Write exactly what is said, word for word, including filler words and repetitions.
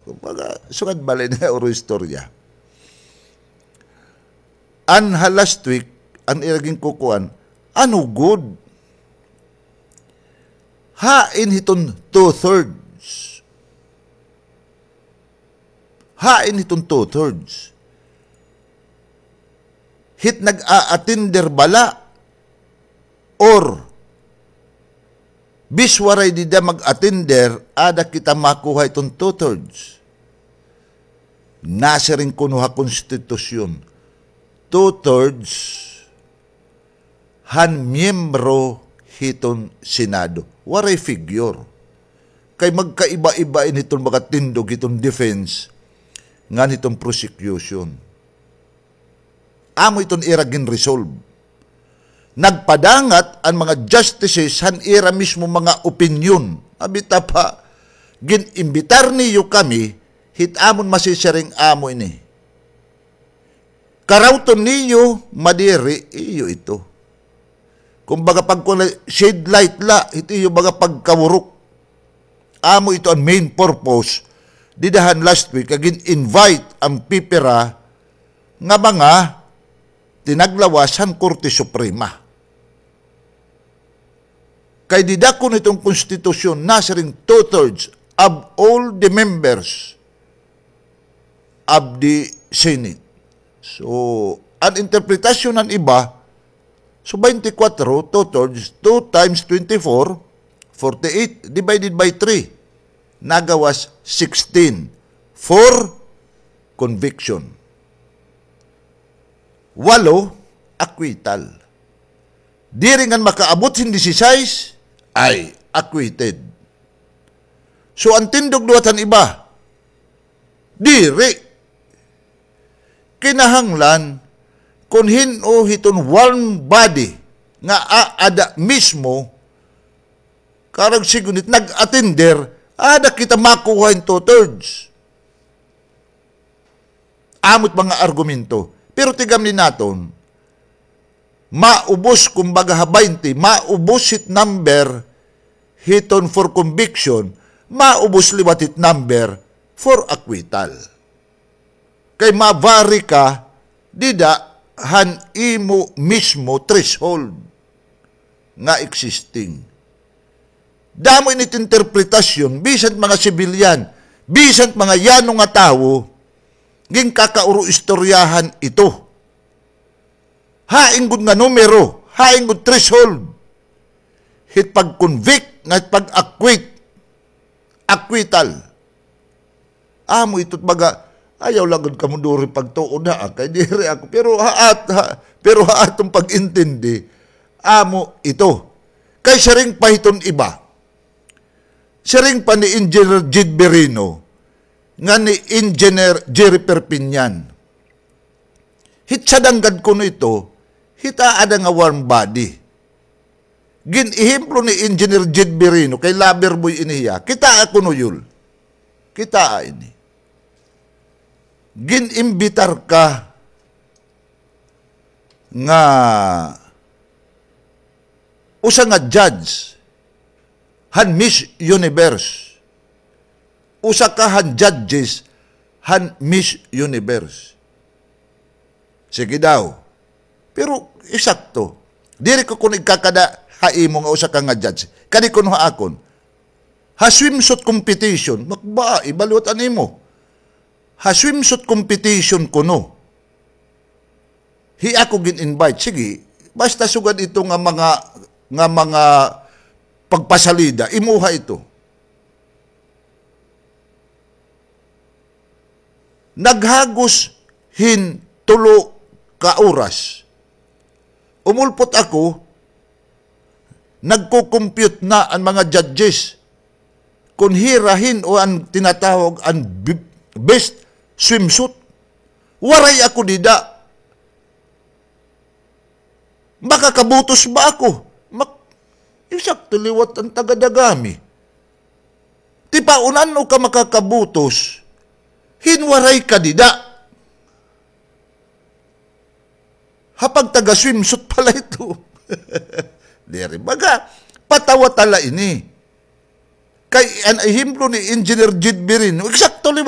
Kumbaga, sugad bala ini nga uro istorya. An ha last week, an ira ginkukuan, ano gud? Hain hiton two-thirds? Hain hiton two-thirds? Hit nag-a-attender bala? Or, bis waray dida mag-attender, ada kita makuha iton two-thirds. Nasiring kuno ha konstitusyon, two-thirds han miyembro hiton Senado. Waray figure. Kay magkaiba-iba ini hiton mga tindog hiton defense ngan hiton prosecution. Amo iton ira gin-resolve. Nagpadangat an mga justices han ira mismo mga opinyon. Abi ta pa, gin-imbitar niyo kami, hit amon masisiring amo ini. Karawton niyo, madiri, iyo ito. Kumbaga, pagkuan, shade light la, hit iyo baga pagkawurok. Amo ito an main purpose. Dida han last week, nga gin-invite an pipira nga mga tinaglawas han Korte Suprema. Kay dida kuno hiton konstitusyon, nasiring two-thirds of all the members of the Senate. So, an interpretasyon han iba, so, twenty-four, two-thirds, two times twenty-four, forty-eight, divided by three, nagawas sixteen for conviction. Walo, acquittal. Diri ngan makaabot hin disisais, ay acquitted. So, an tindog liwat han iba, diri. Kinahanglan, kon hin-o hiton warm body nga aada mismo, karuyag sigun hit nag-attender, ada kita makuha hin two-thirds. Amo it mga argumento. Pero tigam ni naton, maubos, kumbaga, ha twenty, maubos it number hiton for conviction, maubos liwat it number for acquittal. Kay ma-vary ka dida han imo mismo threshold nga existing. Damo ini it interpretasyon, bisan mga sibilyan, bisan mga yano nga tawo, ginkakauro-istoryahan ito. Hain gud nga numero, hain gud threshold hit pag-convict ngan hit pag-acquit, acquittal. Amo ito it baga, ayaw la gud kamo duri pagtuo na, ah, kay diri ako. Pero ha at-, ha, pero ha aton pag-intindi, amo ito. Kay siring pa hiton iba, siring pa ni Engineer Jed Birino, ngan ni Engineer Jerry Perpignan, hit sadanggad kuno ito, hit aada nga warm body. Gin-ehemplo ni Engineer Jed Birino, kay lover boy ini hiya. Kitaa kuno, Yul. Kitaa ini. Gin-imbitar ka nga usa nga judge han Miss Universe. Usa ka han judges han Miss Universe. Sige daw. Pero eksakto. Diri ko kuno igkakada ha imo nga usa ka nga judge. Kadi kuno ha akon. Ha swimsuit competition, makba, iba liwat an imo. Ha swimsuit competition kuno. Hi ako gin-invite, sige. Basta sugad ito nga mga, nga mga pagpasalida, imuha ito. Naghagos hin tulo ka oras. Umulpot ako, nagko-compute na an mga judges. Kon hira hin-o an tinatawag an b-, best swimsuit. Waray ako dida. Makakabutos ba ako? Mak-, eksakto liwat an taga-Dagami. Tipaon, ano ka makakabutos hin waray ka dida? Ha pagtaga-swimsuit pala ito. Diri, baga, patawa ta la ini. Kay an ehemplo ni Engineer Jed Birino, eksakto liwat.